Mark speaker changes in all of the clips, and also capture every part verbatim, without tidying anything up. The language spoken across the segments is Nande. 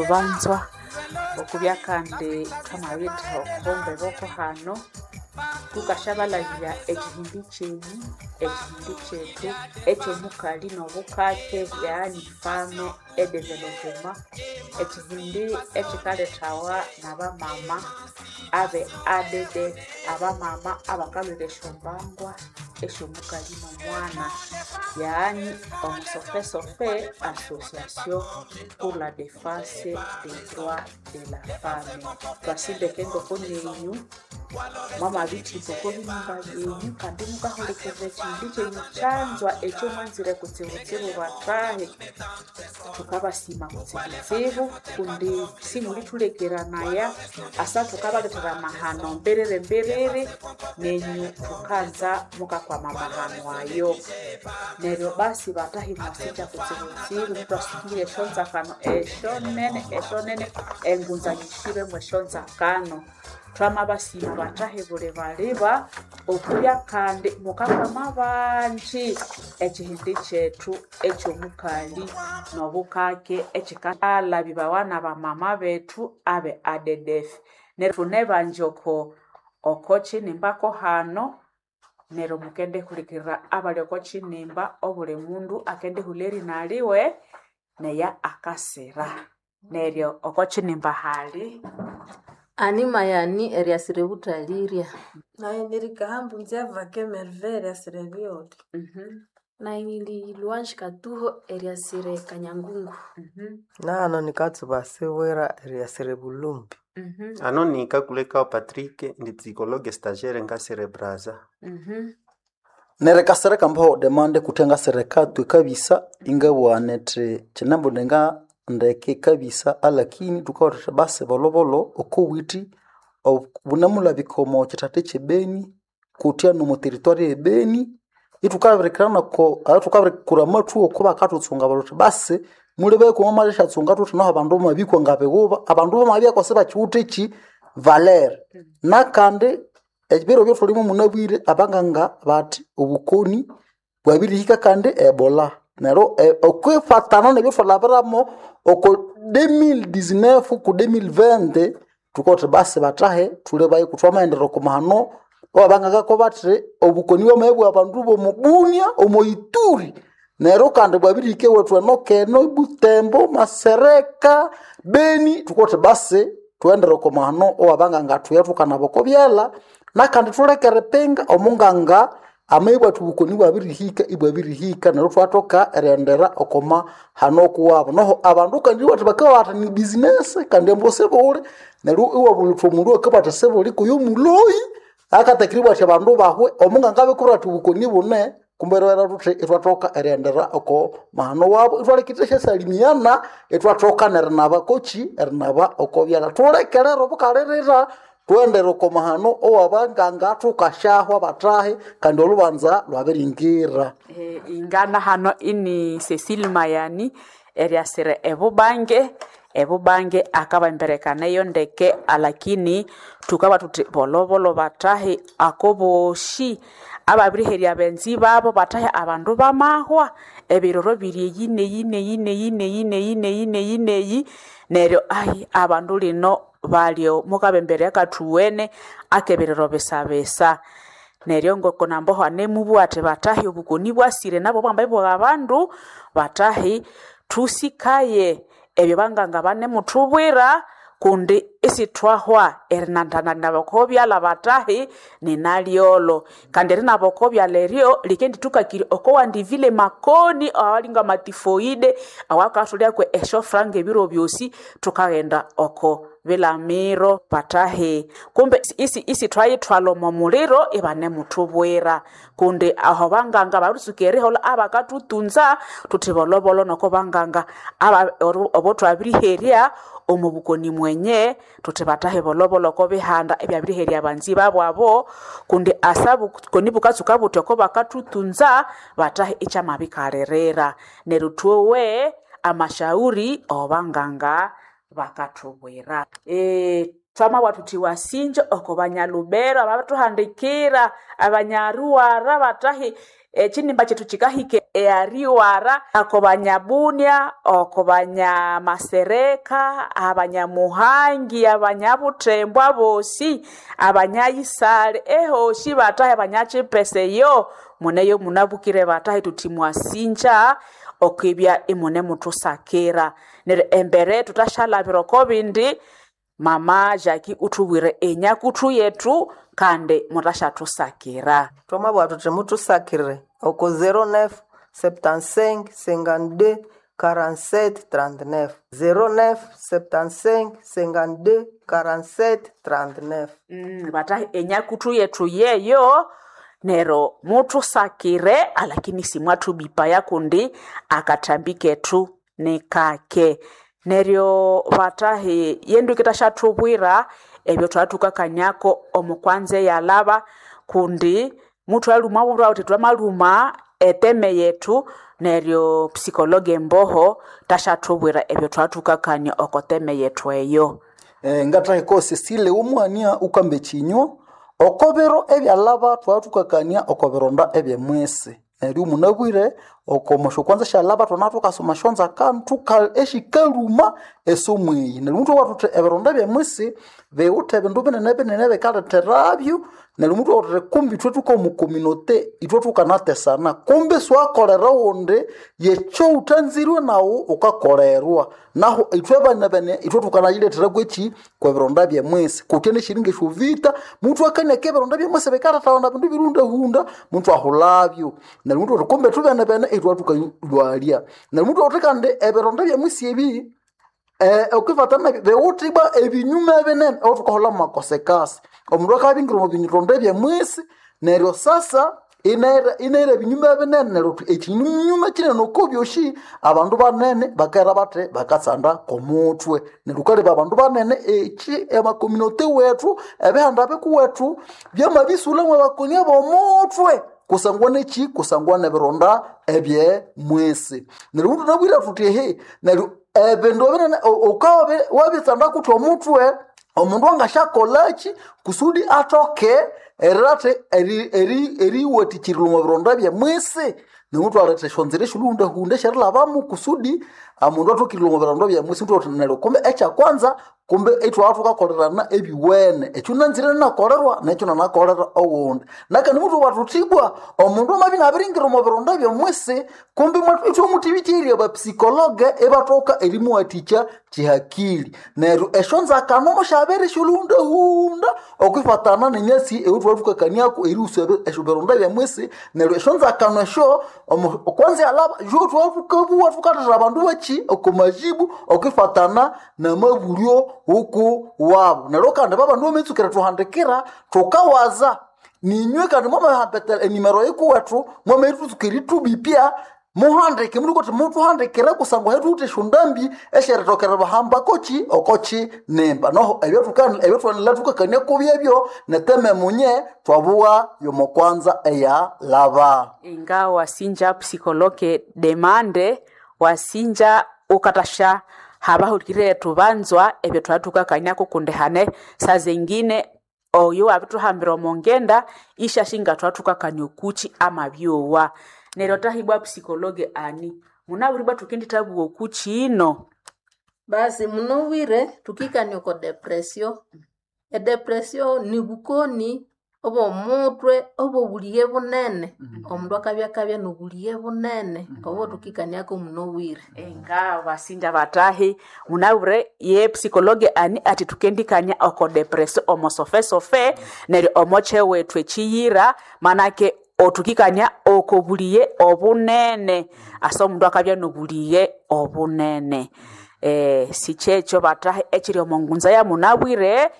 Speaker 1: Banzwa okubya kandi thwamabitha okombe boko hano thukasyabalhabirya ekihindi kyenyu ekihindi kyethu ekyomukali nobukake yaani fame edevelopema ekihindi ekikalethawa nabamama abe A D D abamama abakalhwira esyombangwa esyomukali nomwana yaani omusofesofe association pour la defense des droits de la femme. Twasindeke ngoko nenyu mwamabithimba oko binyumba byenyu kandi mukahulikirira ekihindi kyenyu kyanzwa ekyo mwanzire kutsibutsibu bathahi. Thukabasima kutsibutsibu kundi simulithulekeranaya asa thukabalethera amahano mbiriri mbiriri nenyu thukanza mukakwama amahano ayo. Neryo basi bathahi mwasikya kutsibutsibu muthwasukire esyonzakano esyonene esyonene engunza yihiremu esyonzakano. Thwamabasima bathahi buli baliba okubya kandi mukakwama banji ekihindi kyethu ekyomukali nobukake ekikalhabibawa nabamama bethu abe A D D F. Neryo thunebanji oko oko kinimba ko hano neryo mukendihulikirira abali oko kinimba obuli mundu akendihulha erina liwe neya akasira. Neryo oko kinimba hali
Speaker 2: Ani mayani eriasira ebuthalirya.
Speaker 3: Nayi nirikahambu nzyavake Merveille eriasira ebyoli.
Speaker 4: Nayi nindi Louange Katuho eriasira Kanyangungu.
Speaker 5: Nahano nikatsuba sibwira eriasira ebulumbi.
Speaker 6: Ano nikakulekao Patrick ndi psychologue stagiaire ngasire Brazza.
Speaker 7: Neryo kambaho demande kuthe ngasireka twikabisa ingabugha nithi kyinambu nga ndeke kabisa alakini thukabugha thuthi basi bolhobolho okowithi bunemulhabika omo kyithatha kyebeni kutya nomo territory ebeni ithukabirikirana oko ahathukabirikura amathu oko bakathuthunga bathi basi mulebeko mwamalyasyatsunga thuthi naho abandu bamabikwa ngabighuba abandu bamabya sibakiwithe ki valere nakandi ebiro ebyathulimu munabwire abanganga bathi obukoni bwabirihika kandi ebola neryo okwifatana nebyathwalhabiramo oko elfu mbiri na kumi na tisa ku elfu mbiri na makumi abiri thukowa thuthi basi bathahe thulebayo kuthwamaghendera oko mahano awabangangako bathi obukoni bwamabya bwa bandu bomo Bunia omo Ituri neryo kandi bwabirihika ewethu eno keno Butembo Masereka Beni thukowa thuthi basi thughendere oko mahano awabanganga thuye thukanaba oko byalha nakandi thuleke eripinga omunganga amabya athi obukoni bwabirihika ibwabirihika neryo ithwathoka erighendera oko mahano kuwabo noho abandu kandi iwathi bakabugha bathi ni business kandi ambu sibuli neryo iwabulha wuthi omundu akabugha athi sibuli kuyo muloyi akatakiribwa athi abandu bahwe omunganga abikubwira athi obukoni bune kumbe eribera thuthi ithwathoka erighendera oko mahano wabo ithwaleka ithwasyasalimiana ithwathoka nerinaba kochi erinaba oko byalha thulekerera obukalirira thughendere oko mahano owabanganga thukasyahwa bathahi kandi olhubanza lwabiringira.
Speaker 1: Eh, ingana hano ini Cecile Mayani eriasira ebubange ebubange akabemberekana ndeke alakini thukaba thuthi bolobolo bathahi akoboshi ababiriherya benzi babo bathahi abandu bamahwa ebiroro biri eyi neyi neyi neyi neyi neyi neyi neyi neyi neryo ayi abandu lino balyo mukabemberea akathuwene akebiriro bisabisa neryo ngoko namboho anemubugha athi bathahi obukoni bwasire nabo bwambaye bwa abandu bathahi thusikaye ebyo banganga banemuthubwira kundi isithwahwa erinandana naboko byalha bathahi ninalyolo kandi erinaboko byalha eryo likendithukakirya okowandivile makoni awalinga matifoide awakathulyakwe esyofranga ebiro byosi thukaghenda oko bilamiro bathahi kumbe isi isithwayithwalha omo muliro ibanemuthubwira kundi aho banganga baritsuka eriholha abakathutunza thuthi bolhobolho noko banganga aba obo thwabiriherya omu bukoni mwenye thuthi bathahi bolhobolho oko bihanda ebyabiriherya abanzi babu abo kundi asa bukoni bukatsuka buthi oko bakathutunza bathahi ikyamabikalirira neryo thwowe amashauri obanganga Bakathubwira e, twamabwa thuthi wasinja oko banyalubero ababituhandikira abanyaruwara batahi ekinimba kyethu kikahika eariwara ako banyabunia oko banyamasereka abanyamuhangi abanyabuthembo abosi abanyayisale ehosi batahi abanyakipese yo muneyo munabukire batahi tuthi mwasinja okwibya imune muthusakira neryo embere thutashalabira oko bindi. Mama Jackie uthubwire enyakuthu yethu kandi mutashathusakira.
Speaker 5: Twamabugha thuthi muthusakire oko zero neuf septante-cinq cinquante-deux quarante-sept trente-neuf zero neuf septante-cinq cinquante-deux quarante-sept trente-neuf.
Speaker 1: Mm, batahi enyakuthu yethu yeyo nero muthusakire alakini simwathubipaya kundi akathambi kethu nikake neryo batahi yendu ikitashathubwira ebyo thwathukakaniako omukwanza eyalaba kundi muthu aluma bwira uthi twamaluma eteme yethu neryo psikologe mboho tashathubwira ebyo thwathukakania okoteme yethu eyo.
Speaker 7: Eh, ngathahi ko Cecile umwania ukambe chinywa okobiro ebyalaba twathukakania okobironda ebyemwisi neryo munabwire okomosho kwanza syalaba thwana thukasoma syonza kandu eshikaluma esomo eyi neryo muthu wathuthi ebironda ebyemwisi biwuthe ebindu binene binene bikaletheravyo neryo muthu wathuthi kumbi ithwe thukomukominote ithwe thukanatesana kumbi siwakolera wundi yekyo wuthanzirwe nawu wukakolerwa nahu ithwe bana bene ithwe thukanayilethera kwekyi kwebironda byemwisi kutya neshiringa esyovita muthu akaniaka ebironda byemwisi bikalethawana bindu birundahunda muthu ahulabyo neryo muthu wathi kumbi thubene bene ithwe thukalwalya neryo muthu wathi kandi ebironda byemwisi ebi eh, okwifatana biwuthibwa ebinyuma binene othukaholha mumakosekasi omundu akabingira omu bironda ebyemwisi neryo sasa inaira inaira ebinyuma binene neryo thuthi ekinyuma kinene oko byosi abandu banene bakera bathi bakatsanda komuthwe neryo wukaleba abandu banene eki emakominote wethu ebihanda bikuwethu byamabisulhamu abakonia bomuthwe kusangwa neki kusangwa nebironda ebyemwisi neryo mundu nabwira thuthi ehe neryo ebindu binene ukawa wabitsanda kuthi omuthwe omundu angasyakolaki kusudi athoke erirathi eriwathikyirirwa omu bironda byemwisi nemuthu aletha esyonzira esyolhuhundahunda esyerilhabamu kusudi omundu athokirirwa omu bironda byemwisi muthu neryo kumbe ekyakwanza kumbe ithwabya thukakolerana ebiwene ekyo nanzire nakolerwa nekyo nanakolera owundi nakandi muthu wathuthibwa omundu amabya inabiringira omu bironda byemwisi kumbe ithwamuthibikirya abapsikologe ibathoka erimuwathikya kihakili neryo esyonzakano musyabere esyolhuhundahunda okwifatana nenyasi eyithwathukakaniako erihusa esyobironda byemwisi neryo esyonzakano esyo kwanza yalaba yothwathukabuwa thukathethera abandu bakyi okomajibu okwifatana namabulyo huku wabu neryo kandi babandu bametsukira thuhandikira thukawaza ninywe kandi mwamahambetela enimero yikuwethu mwamaithutsuka erithubipya muhandike muli kuti muthuhandikire kusangwa hethuwithe esyondambi esyeritokera bahamba koki okoki nimba noho ebyathukanila thukakania kubyebyo neteme munye twabuwa yomokwanza eyalaba.
Speaker 1: Inga wasinja psikologe demande wasinja ukatasha habahulire tubanzwa ebyo twatukakanako kundi hane saa zengine oyo wabituhambira omongenda ishashinga twatukakania okuchi amabyowa neryo tahibwa psikologe ani munabwiribwa tukendithabuwa okuchi ino.
Speaker 2: Basi munobwire tukikania oko depression. Edepression ni bukoni obw'omutwe obw'obulighe bunene. Omundu akabya akabya n'obulighe bunene obo tukikaniako munobwire.
Speaker 1: Enga basinja batahi munabwire ye psikologe ani ati tukendikania oko depression omo sofesofe neryo omo kyewethu ekiyira manake otukikania oko bulighe obunene asa omundu akabya n'obulighe obunene. Eh, sikyekyo batahi ekiri omo ngunza ya munabwire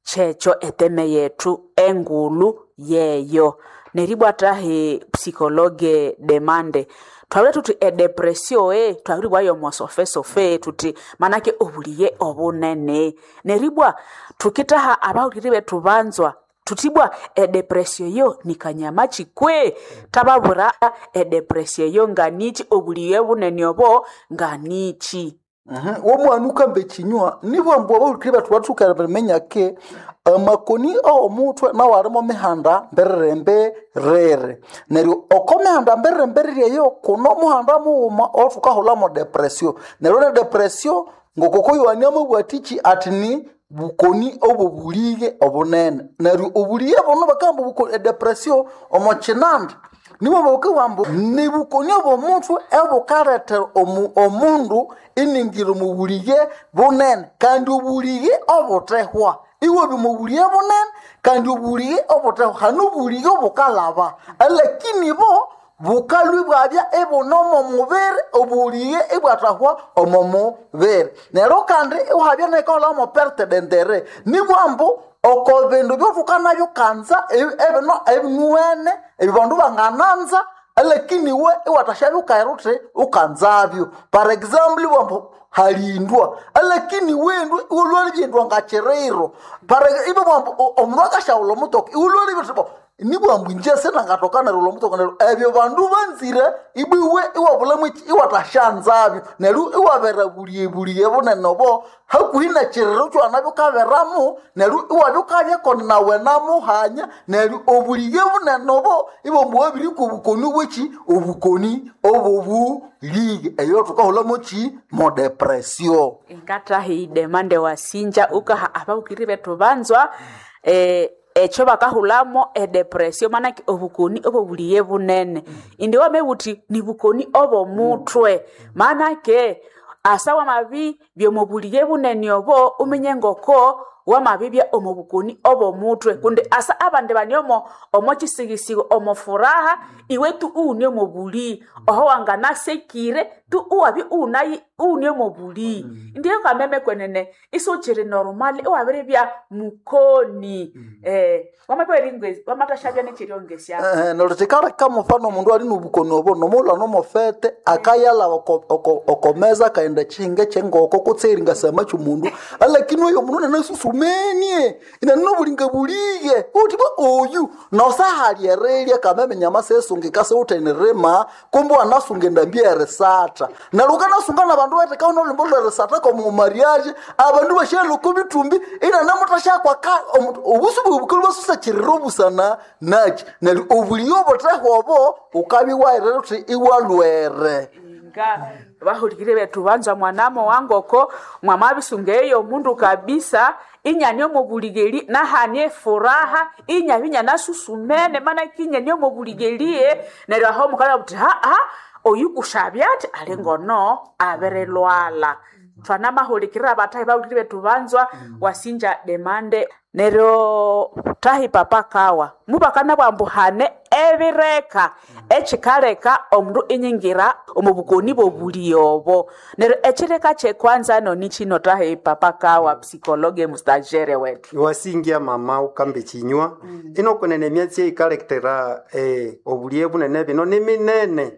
Speaker 1: kyekyo eteme yethu engulhu yeyo neribwa tahi psikologe demande twabire thuthi edepression e twabiribwayo omosofesofe thuthi manake obulighe obunene neribwa thukithaha abahuliri bethu banzwa thuthibwa edepression yo nikanyama kikwe thababwira edepression yo nganichi obulighe bunene obo nganichi.
Speaker 7: Mhm. Womwana ukamba ekinywa nibwambu abahulukiri bethu bathuka baminya ke amakoni aw'omutwe nawo alimo mihanda mberere mberere neryo oko mihanda mberere mberere eyo kuno omuhanda mughuma owathukahulamo depression neryo ne depression ngokoko Yohani amabwatiki ati ni bukoni obobulighe obunene neryo obulighe buno bakamba obuko- edepression omo kinandi nibo bakabugha ni bukoni obw'omutwe obukalethera omu- omundu iningira omu bulighe bunene kandi obulighe obuthehwa iwabya omu bulighe bunene kandi obulighe obuthehwa hanu obulighe obukalaba alakini bo bukalwi bwabya ibune omo mubiri obulighe ibwathahwa omo mubiri neryo kandi iwabya nekaholamo perte dendere nibwambu oko bindu byothukanabyo kanza ebi- ebino ebinuwene ebyo bandu bangananza alakini we iwathashabya ukaira uthi ukanzabyo par example ibwambu halindwa alakini wendu iwolwali byendwa ngachiriro par ibo bwambu o- omundu akashaghulha omutoka iwolwali byethu nibwambu inje sinangatoka neryo omutoka neryo ebyo bandu banzire ibwiwe iwabulamo eki iwathashanzabyo neryo iwabera buliye bunene obo hakuhi nekiriro kyowanabya ukaberamu neryo iwabya ukabyako nawe namuhanya neryo obuliye bunene obo ibwambu wabirikwa obukoni bweki obukoni obobuliye eyo thukahulamo ki mo depression
Speaker 1: ingatahi demande wasinja ukaha abahukiri bethu banzwa eh, ekyo bakahulamo edepression manake obukoni obobuliye bunene indi wamebuthi ni bukoni obomutwe manake asa wamabi byomubuliye bunene obo uminye ngoko wamabibya omu bukoni obomutwe kundi asa abandi bani omo omo kisigisigo omo furaha iwe tu uune omu buli oho wanganasekire tu uwabi unayi uune omu buli ndiyo kameme kwenene isukiri normal iwabiribya mukoni eh wamabya wamatashabya nechiryongesya
Speaker 7: Eh, neryo kikaleka mufano omundu ali nobukoni obo nomulha nomofete akayalha oko- oko- okomeza akaghenda ekihinga ekyengoko kutse eringasama kyomundu alakini oyo mundu nanasusumenie inaninobulinga buliye uthi bwa oyu nosahali erirya kameme nyama sesungika siwuthenirima kumbe wanasunga endambi erisatha neryo ukanasunga nabandu bathekawo nolhimbo lwerisatha komumariage abandu bashyalha oko bithumbi inanamuthashakwa obusu bwebukali bwasusakirira obusana naki neryo obuliye obuthehwa obo ukabya iwahirira uthi iwalwere
Speaker 1: nga bahulikire bethu banzwa mwanamo wangoko mwamabisunga eyo mundu kabisa inyani omubuligeli nahanie furaha inyabi inyanasusu,mene mana kinyani omubuligeliye neryo aho mukala buthi haa oyu kushabya ati ali ngono abirilwala twanamahulikirira batahi bahulikire bethu banzwa wasinja demande neryo tahi papa kawa mubakana bwambu hane ebireka ekikaleka omundu inyingira omu bukoni bobuli obo neryo ekireka kyekwanza noni kino tahi papa kawa psikologe mustagere wetu
Speaker 6: wasingia mama ukambe ekinywa inokunene emyatsi eyikalekitera eh, obuliye bunene bino niminene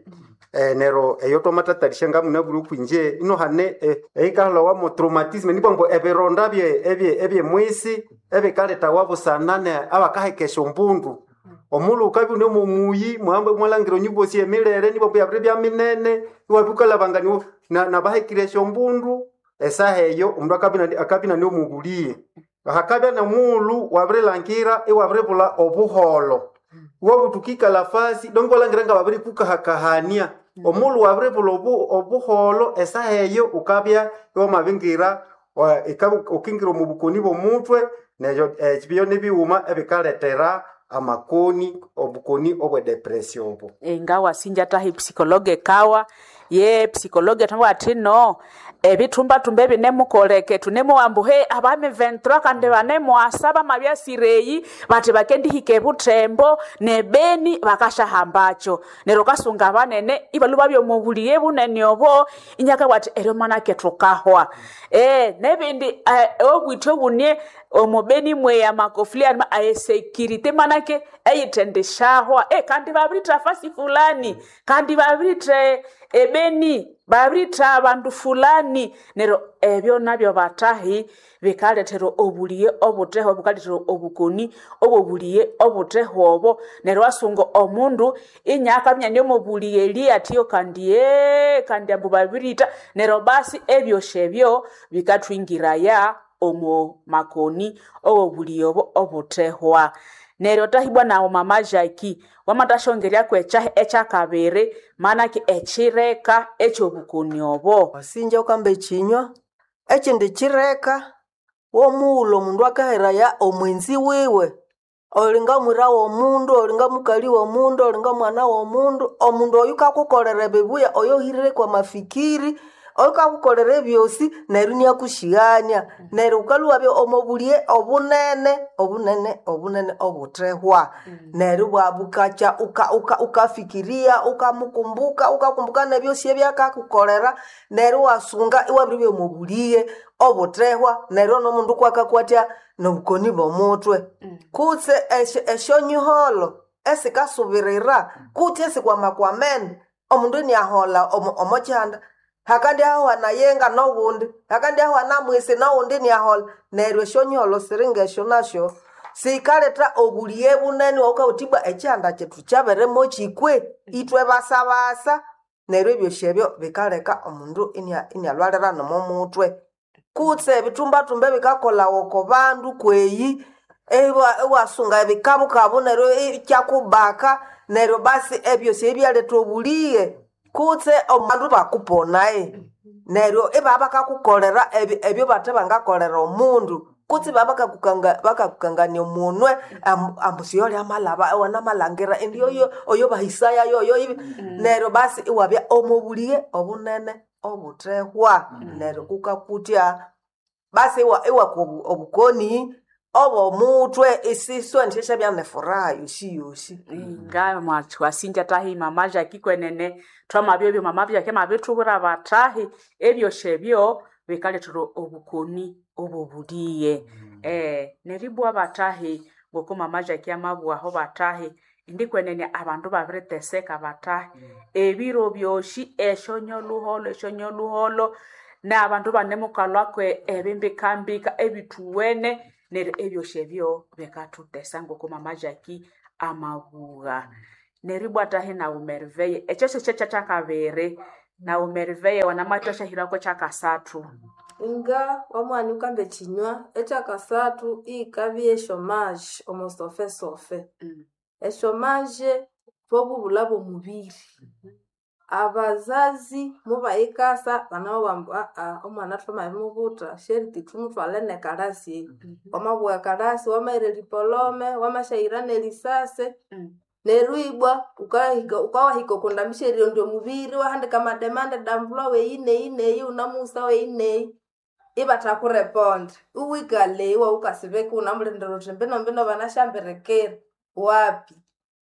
Speaker 6: eh, nero eyo twamatatalisya ngamuna buli okwinje ino hane eh, eyikahulawa traumatisme nibwambu ebironda bye ebye ebyemwisi ebikaletawa busana ne abakahekesha ombundu omulhu ukabya une mumuyi muhambe mwalangira onyubosi emilere nibwambu yabiri bya minene iwabya ukalabangania nabahekire esyombundu esaha eyo omundu akabya akabya inane hakabya nomughulhu wabirilhangira iwabiribulha obuholho iwabuthuka ikalafasi donge iwalangira ngababirikukahakahania omughulhu wabiribulha obu- obuholho esaha eyo ukabya iwamabingira wa- ika- ukingira omu bukoni bw'omutwe neryo ebyo nibighuma ebikalethera amakoni obukoni obwe depression obo
Speaker 1: nga wasinja tahi psikologe kawa ye psikologe thangwa athi no ebithumbathumba ebinemukoleke thunemuwambu he abami ventura kandi banemuasa bamabyasireyi bathi bakendihika ebuthembo nebeni bakashahambacho neryo kasunga banene ibalhu babya omubuliye bunene obo inyaka bwati eryo manake thukahwa e, nebindi eh, obwithe obunie omubeni mweya makofuli anima aesekirite manake eyithendeshahwa e, kandi babiritha fasi fulani kandi babiritha ebeni babiritha abandu fulani. fulani neryo ebyo nabyo batahi bikalethera obuliye obuthehwa bukalethera obukoni obobuliye obuthehwa obo neryo wasunga omundu inyakaminya niomobuliye eli atiyo kandi ee kandi ambu babirita neryo basi ebyosi ebyo bikathwingiraya omo makoni owobuliye obo obuthehwa neryo tahibwa nawo mama Jackie wamathashongeryaku ekyahi ekyakabiri manaki ekireka ekyobukoni obo
Speaker 5: Wasinja ukamba ekinywa ekindi kireka womughulhu omundu akaheraya omwenzi wiwe olinga mwira womundu olinga mukali womundu olinga mwana womundu omundu oyu kakukolera ebibuya oyo ohirire kwa mafikiri oyu kakukolera ebyosi neryo iniakusyighania neryo wukalhwabya omo buliye obunene obunene obunene obuthehwa neryo bwabukakya uka- uka- ukafikiria ukamukumbuka ukakumbuka nebyosi ebyakakukolera neryo iwasunga iwabiribya omo buliye obuthehwa neryo nomundu kwakakwatya nobukoni bw'omutwe kutse esyo- esyonyiholo esikasubirira kutse esikwamakwamene omundu iniaholha omo- omokyihanda hakandi hahuhana yenga nowundi hakandi hahuhana mwisi nowundi iniaholha neryo esyonyiholo siri ngesyo nasyo sikaletha obuliye bunene wawukawuthi ibwa ekyihanda kyethu kyabirimo kikwe ithwe basabasa neryo ebyosi ebyo bikaleka omundu inia- inialhwalira nomo mutwe kutse ebithumbathumba ebikakolhawa oko bandu kweyi iwa- iwasunga ebikabukabu neryo ikyakubaka neryo basi ebyosi ebyaletha obuliye kutse abandu bakuponae neryo ibabya bakakukolera ebyo ebyo bathe bangakolera omundu kutse ibabya bakakukanga bakakukangania omunwe ambu ambu siyoli amalaba iwanamalhangira indi oyo oyo bahisaya yoyo ibi neryo basi iwabya omo buliye obunene obuthehwa neryo kukakutya basi iwa iwakwa obu- obukoni obw'omutwe isiswe nefuraha yosi yosi
Speaker 1: nga mwasinja tahi mama Jackie kwenene twamabya ebyo mama Jackie mabithubwira batahi ebyosi ebyo bikalethera obukoni obobuliye eh neribwa batahi ngoko mama Jackie amabwaho batahi indi kwenene abandu babiriteseka batahi ebiro byosi esyonyoluholo esyonyoluholo n'abandu banemukalhwako ebimbikambika ebithuwene neryo ebyosi ebyo bikathutesa ngoko mama Jackie amabugha neribwa tahi nawu Merveille ekyo syokyo kyekyakabiri nawu Merveille wanamathasyahirakwo kyakasathu
Speaker 3: Nga wamwanya ukamba ekinywa ekyakasathu iyikabya eshomage omo sofesofe. Eshomage bwobubulha bw'omubiri. Abazazi mubayikasa banamubwira ambu aa omwana thwamabimubutha sheriti thumuthwale nekalasi eyi. Wamabugha ekalasi wamahira eripolome wamasyahira nerisase neryo ibwa wukahika wukawahika oko ndambi syerirondya omubiri iwahandika amademande d'emploi weyi neyi neyi wunamughisa weyi neyi ibathakureponda iwikalha eyi iwawukasibeka iwunamulindira wuthi mbino mbino banasyambirikira wapi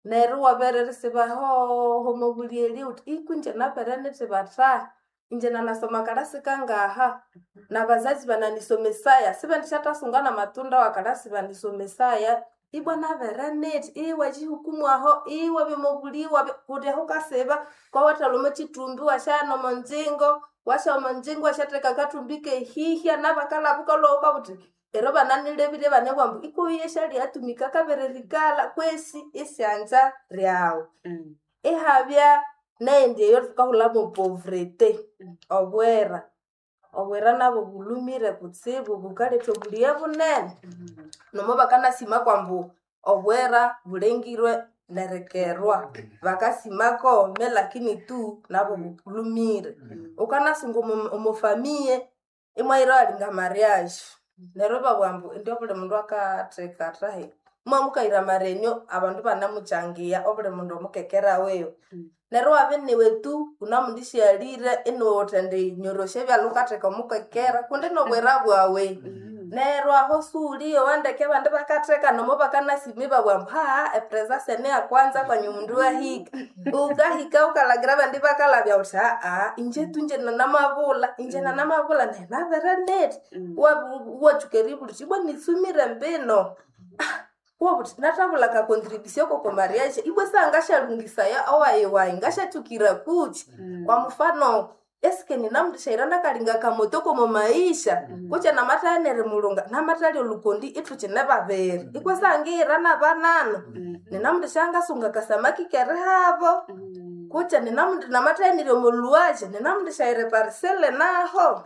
Speaker 3: neryo iwabere erisiba hoho omobulyelye wuthi iku ingye nabere nithi bathahi ingye nanasoma kalasi kangaha nabazazi bananisomesaya sibendisyathasungana namatunda wakalasi banisomesaya ibwa nabere nithi iwakihukumu aho iwabya omobuliye iwabya kundi aho wukasiba kwawathalha omo kithumbi iwasyaghana omo ngyingo wasya omo ngyingo wasyatheka akathumbi kehihya nabakalhaba wukalhwa wukabugha wuthi ero bananilebire ibanabugha ambu ikuyu yesyalyatumika kabiririkalha kwesi isyanza lyawu ihabya neyindi eyo thukahulhamu povrete obwera obwera nabwo bulhumire kutsibu bukaletha obuliye bunene nomo bakanasima kwambu obwera bulengirwe nerikerwa bakasimako me lakini tu nabwo bulhumire wukanasunga omo omo famiye imwahira walinga mariage neryo ibabugha ambu indi obuli mundu akatheka athahi mwamukahira marenyo abandu ibanamukyangiya obuli mundu omukekera wiwe neryo iwabya iniwe tu wunamundisyalire iniwe wuthendinyorosya ebyalha wukatheka omukekera kundi nobwera bwawe neryo aho siwuliyowa ndeke abandi bakatheka nomo bakanasima ibabugha ambu haha epresence niyakwanza kwanyu omundu wahika wukahika wukalhangira abandi bakalhabya wuthi aa inje tu inje nanamabulha inje nanamabulha nayi nabere nithi iwatsuka eribulha wuthi ibwa nitsumire mbino iwabugha wuthi nathabulha ka contribution koko mariage ibwa sangashalungisaya owayi wayi ngasyatsukira kuki kwa mfano Eske ninamundishaira nakalinga kamoto komo maisha kutse namathaghana mulunga namathalya olukondi ithukine babiri ikwasangira nabanano ninamundishangasunga kasamaki kerihabo kutse namathaghanire omoluwaje ninamundishaira eparisele naho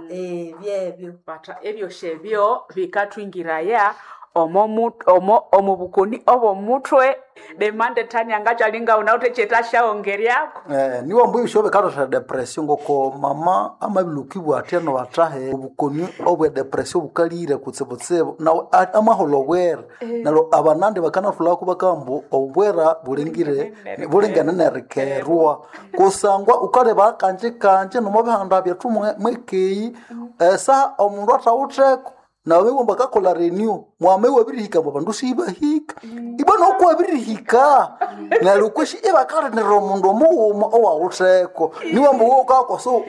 Speaker 3: Eh, byebyo
Speaker 1: Bata ebyosyo ebyo bikathwingiraya omo mu- omo omu bukoni obw'omuthwe demande tania ngakyalinga unawuthe kyetasyaongeryako
Speaker 7: Eh, niwo mbu ebisyo bikaletha depression ngoko mama amabilukibwa athya nobathahe obukoni obwe depression bukalire kutsibutsibu nawe a- amaholha obwera neryo abanandi bakanathulako bakamba obwera bulingire bulingene nerikerwa kusangwa ukaleba kanje kanje nomubihanda byethu mwe- mwekeyi esaha omundu athawutheko nawe womba kakola renew mwame wabirihika mbu abandu sibahika ibwa noku wabirihika neryo kweshi ibakalinira omundu omughuma owawutheko niwamba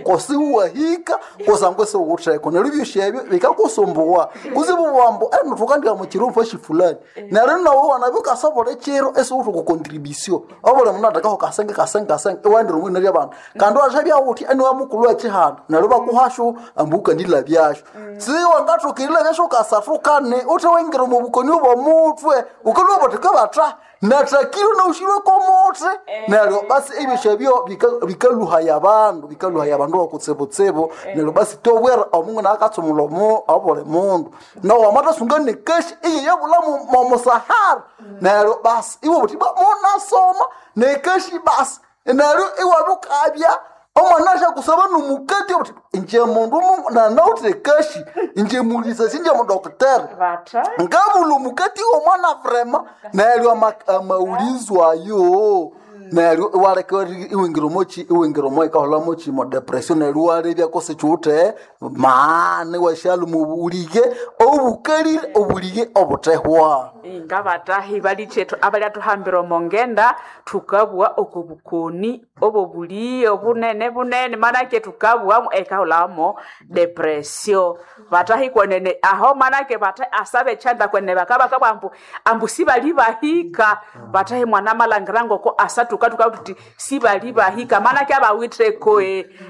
Speaker 7: kosiwahika kusangwa siwutheko neryo ebyosi ebyo bikakusumbuwa kusibu wambu eno thukandika mukiro fashi fulani neryo nawe wanabya ukasobola ekiro esiwuthi kukontribusio obuli mundu athekaho kasenge kasenge kasenge iwaendera omwina lyabandu kandi washabya wuthi eniwa mukulhu wekihanda neryo bakuhashu ambu ukandilhabyashu siwangathoka erilhabyashu kasathu kane uthe waingira omu bukoni obw'omuthwe ukalhwa batheka batha nathakirwe naushirwe komuthi neryo basi ebyosi ebyo bika- bikaluhaya abandu bikaluhaya abandu bakutsibutsibu neryo basi tobwera omungu nakatsumula omu obuli mundu nawe wamatasunga nekashi iye yabula mu- momusahara neryo basi iwe buthi "Ba, munasoma nekashi basi neryo iwabukabya omwana ashakusaba nomukati obuthi inje mundu mu- nanawuthe kashi inje mulisasi inje mudokiteri
Speaker 1: bata
Speaker 7: ngabula omukati womwana vrema neryo ama- amaulizo ayo neryo iwaleka iwingira omochi iwingira omo ikahola mochi mo depression neryo iwalebya kose kiwuthe maana iwashaluma obulige obukalire obulige obuthehwa
Speaker 1: ngabatahi balichethu abalyathuhambira omo ngenda thukabugha oko bukoni obobuliye obunene bunene manake thukabughamu ekahulamo depression batahi kwenene aho manake batahi asabe echanda kwenene bakabakabugha ambu ambu sibali bahika batahi mwana malangira ngoko asa tukatuka tuti sibali bahika manake abawitheko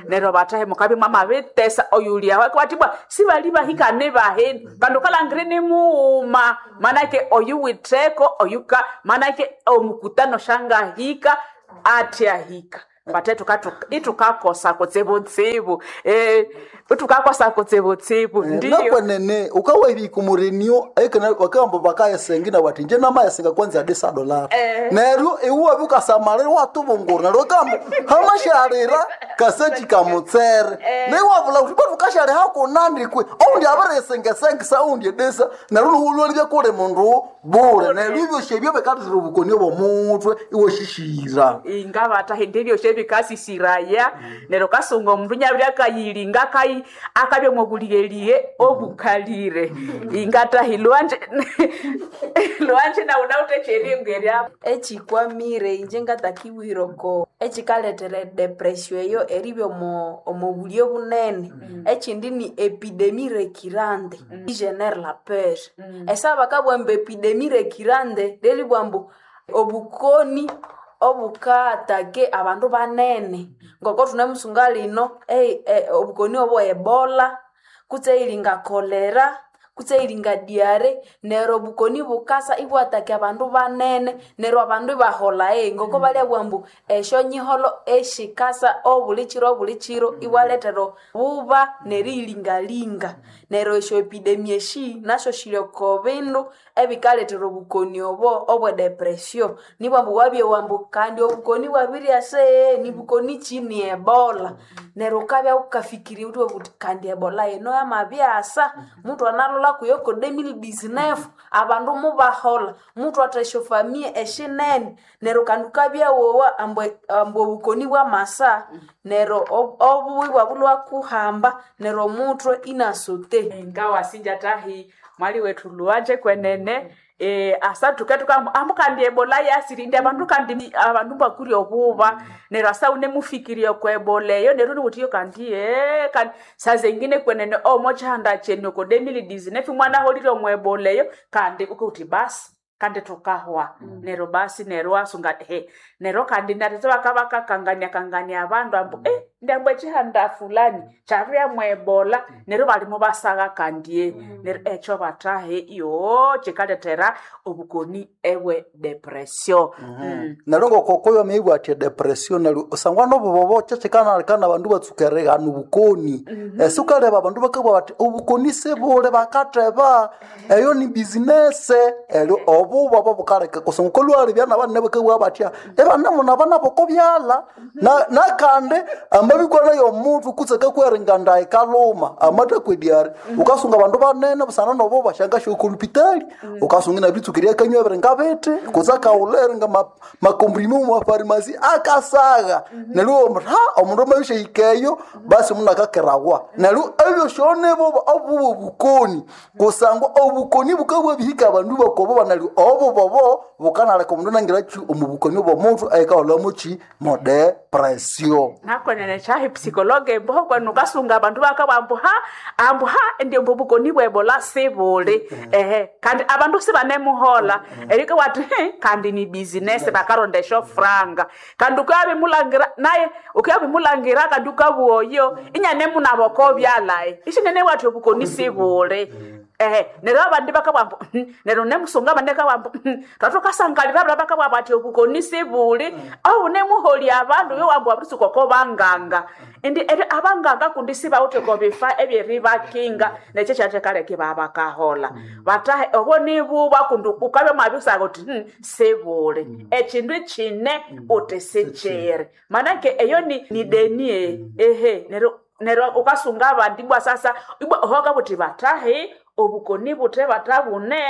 Speaker 1: neryo batahi mukabi mwamabitesa oyuliaho akabatibwa sibali bahika nibaheni kandi ukalangire nimughuma manake oyuwitheko oyuka manake omukutano shangahika atyahika bate itukakosa kutsibutsibu eh, itukakosa kutsibutsibu ndiyo
Speaker 7: nakwenene ukawahika omurenio bakamba bakayesenga inabati inje namayesenga kwanza adisa dolari neryo iwe ukasamalira watubungura neryo kamba hamashalira kasechi kamutsere neiwabula kuti batu kashali hakunandikwe oundi abiresengesengesa oundi edesa neryo nuwulwalibya kuli mundu bule neryo ibyosi ebyo bikatira obukoni obwomutwe iwashishira
Speaker 1: ingavata ndivyo shevikasisiraya neryo kasunga omundu nyabiri akayilinga akayi akabya mwobuligheliye obukalire ingatahi lwanje lwanje nawu nawutecheringwerya
Speaker 4: echikwamire inje ngatakiwiroko echikaletera edepression eyo eribya omo omo bulyo bunene echindi ni epidemi recurrente igenere la peur esa bakabugha ambu epidemi recurrente lelibugha ambu obukoni obukatake abandu banene ngoko thunemusunga lino ei- e- obukoni obo ebola kutse ilinga kolera kutse ilinga diare neryo obukoni bukasa ibwataka abandu banene neryo abandu ibahola e ngoko balyabugha ambu esyonyiholo eshikasa obuli kiro obuli kiro ibwaletera buba neriyilingalinga neryo esyo epidemi eshi nasyo shiri oko bindu ebikaletera obukoni obo obwe depression nibwa ambu wabyowa ambu kandi obukoni bwabiryasa ee nibukoni ki ni ebola neryo wukabya wukafikiria wuthi wuthi kandi ebola yino yamabyasa mutu analola kuyo ko elfu mbili na kumi na tisa abandu mubahola mutu atha esyofamiye eshinene neryo kandi wukabya wowa ambu ambu obukoni bwamasa neryo ob- obubi bwabulwa kuhamba neryo omutwe inasote
Speaker 1: ngawasinja tahi mwali wethu luwanje kwenene eh asa tuketuka ambu kandi ebola yasirinde abandu kandi abandu bakuri obuba neryo asa unemufikiria kwa ebola eyo neryo niwuthiyo kandi eh kandi saa zengine kwenene omo chihanda chenu ko elfu mbili na kumi na tisa mwana holire omu ebola eyo kandi ukuti basi kandi tukahwa neryo basi neryo wasunga he neryo kandi natete bakabakakangania kangania abandu ambu eh Ndambo echihanda fulani chabya mwebola neryo balimo basagha kandie neryo ekyo batahe yo chikaletera obukoni ebwe depression. Mm.
Speaker 7: Neryo ngokokoyo amabwa ati depression neryo usangwa nobubobo kyekikanalekana abandu batsuka erighana obukoni. Esi ukaleba abandu bakabugha bati obukoni sibuli bakatheba eyo ni business eryo obuba bobukaleka kusangwa ukalhwalebya nabanene bakabugha batya ibanemuna nabo byalha. Na- nakandi amabikwana yomundu kutse kakweringa ndayi ikaluma amathakwediari ukasunga abandu banene busana nobo basyangasya okolupitali ukasunga inabitsuka eryakanywa ebiringa bithi kutse akaghulha eringa ma- makomprime omu mafarimasi akasagha neryo omundu ha omundu amabishahika eyo basi omundu akakerawa neryo ebyosyo nibo obuba obukoni kusangwa obukoni bukabwabihika abandu bakoboba neryo obubobo bukanaleka omundu anangira ki omu bukoni bw'omundu ayikahulhamuki mo depression.
Speaker 1: Nakwenene chahi psikologe mboho kwenu ukasunga abandu bakabwa ambu ha ambu ha ndiyo mbubukoni bwebola sibuli ehe kandi abandu sibanemuhola eriko wati "He, kandi ni business bakarondesha franga kandi ukabimulangira naye ukabimulangira kandi ukabuoyo inyanemunaboko byalaye ishinene wati obukoni sibuli ehe neryo abandi bakabwa mbu "Hmm," neryo nemusunga abandi akabwa mbu "Hmm, twathukasangalira bala bakabwa bati obukoni sibuli obunemuholi abandu yowambu wabiritsuka oko banganga indi eri abanganga kundi sibawithe ko bifa ebyeribakinga nekyo kyathakaleka ibabakahola batahe obo nibuba kundi ukabya mwabisaka uthi "Hmm, sibuli ekindu kine uthi sikyiri manake eyo ni, ni denie ehe neryo neryo ukasunga abandi ibwa sasa ibwa ohoka buthi batahi obukoni buthe batabune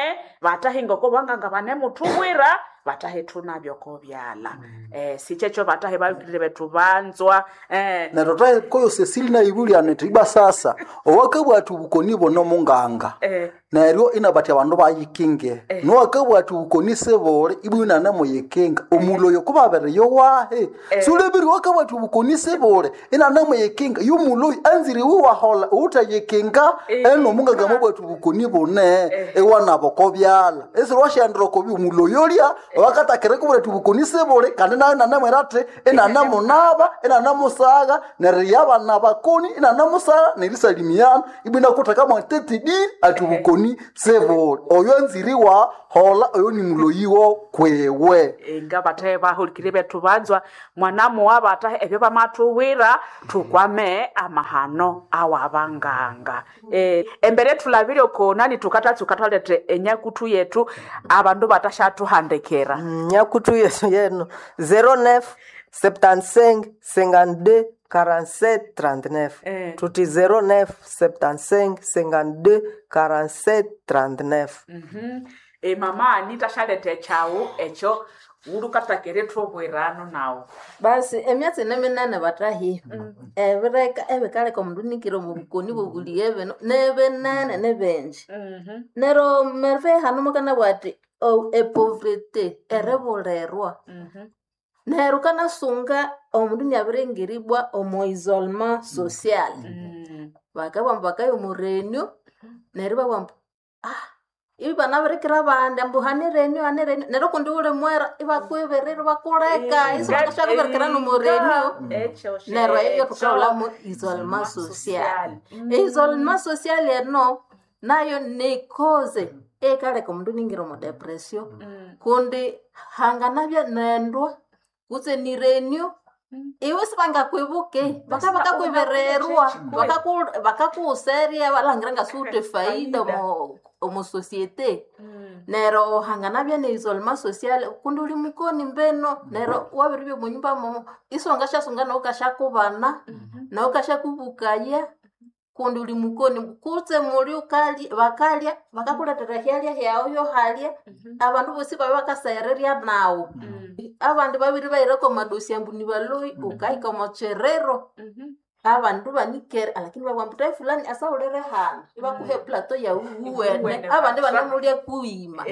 Speaker 1: batahi ngoko banganga banemuthubwira batahi thunabyo kobyala eh sikyekyo batahi babikirire bethu banzwa eh
Speaker 7: neryo thahe koyo Cecily nayibulya nithi ibwa sasa owakabugha athi obukoni buno munganga
Speaker 1: Eh.
Speaker 7: neryo inabathi abandu bayikinge nowakabugha athi obukoni sibuli ibwa inanamuyikinga omuloyo kubabere yowahe sulebiri wakabugha athi obukoni sibuli inanamuyikinga yomuloyo anzire iwe wahola uwuthayikinga eno omunganga mwabugha athi obukoni bune iwanaba okobyalha esiri wasyahendera okobi omuloyo olya owakatakira kubwira athi obukoni sibuli kandi nayo inanamwira athi inanamunaba inanamusagha neryo yabana bakoni inanamusagha nerisalimiana ibwa inakutheka tetidiri athi obukoni sibuli oyo anzire wahola oyo ni muloyiwo kwewe
Speaker 1: nga bathe bahulikire bethu banzwa mwanamuwa batahe ebyo bamathuwira thukwame amahano awabanganga eh, embere thulabire okonani thukatatsuka thwalethe enyakuthu yethu abandu batashathuhandikira
Speaker 5: nyakutu yesu yeno zero neuf septante-cinq cinquante-deux quarante-sept trente-neuf.
Speaker 1: Eh.
Speaker 5: Tuti zero neuf septante-cinq cinquante-deux quarante-sept trente-neuf.
Speaker 1: Mhm. E mama anita shalete ekyawu ekyo wulukatakere thubwirano nawu
Speaker 2: Basi emyatsi neminene batahi ebireka ebikaleka omundu nikire omu bukoni bwobuliye bino nebinene nebenji nero merve hanu mukanabugha ati "Oh, epovrete eribulirwa neryo kanasunga omundu niabiringiribwa omu isolement social bakabugha ambu bakaya omu renio neryo ibabugha ambu ah ibi banabirikira abandi ambu hane renio hane renio neryo kundi wuli mwera ibakwibirira ibakuleka isi bakashabirikira nomu renio neryo eyo thukaghulhamu isolement social isolement social eno nayo ni cause eyikaleka omundu iningira omu depression kundi hanganabya nendwa kutse ni renio iwe sibangakwibuke baka bakakwibirirwa bakaku- bakakuwuserya balhangira ngasiwuthe faida omu- omu societe neryo hanganabya ne isolement social kundi uli mukoni mbeno neryo wabiribya omunyumba momo isiwangasyasunga nawu kashyakubana nawu kasyakubukaya kundi uli mukoni kutse muli ukalya bakalya bakakulethera ehyalya hyawu yohalya abandu bosi babya bakaseghererya nawu abandi babiri bahirako amadosi ambu nibaloyi ukahika omo kyiriro abandu banikere alakini babugha ambu tahi fulani asawulire hano ibakuha eplato yawu wuwene
Speaker 1: Wuwene
Speaker 2: abandi
Speaker 1: basha.
Speaker 2: banemulya kughima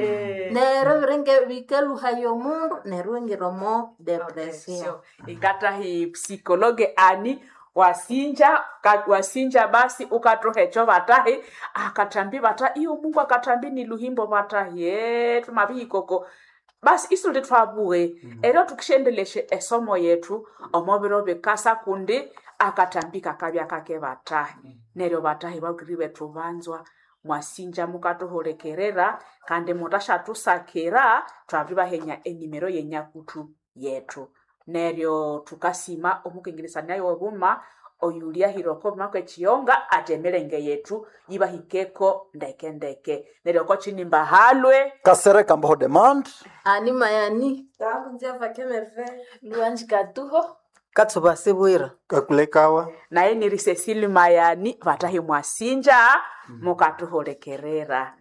Speaker 2: neryo ebiringe bikaluhaya omundu neryo ingira omo depression
Speaker 1: ikatahi psikologe ani wasinja ka, wasinja basi ukathuha ekyo batahi akathambi bata iyo mungu akathambi ni luhimbo batahi e tumabihikoko Basi isuli twabughe eryo tukishendeleshe esomo yetu omo biro bikasa kundi akatambi kakabya kake batahi neryo batahi bakiri bethu banzwa mwasinja mukathuhulikirira kandi mutashathusakira twabiribahenya enimero yenyakutu yetu neryo tukasima omukengeresania wobuma oyulyahira oko kwekiyonga ati emirenge yetu yibahikeko ndeke ndeke neryo oko kinimba halwe
Speaker 7: Kasereka Mboho Demand
Speaker 2: Ani mayani
Speaker 3: Tangu kemerve
Speaker 4: Luanji Katuho
Speaker 5: Katsuba sibwira.
Speaker 6: Kakulekawa.
Speaker 1: Naye ni Cecile Mayani vatahi mwasinja mukatuhulikirira.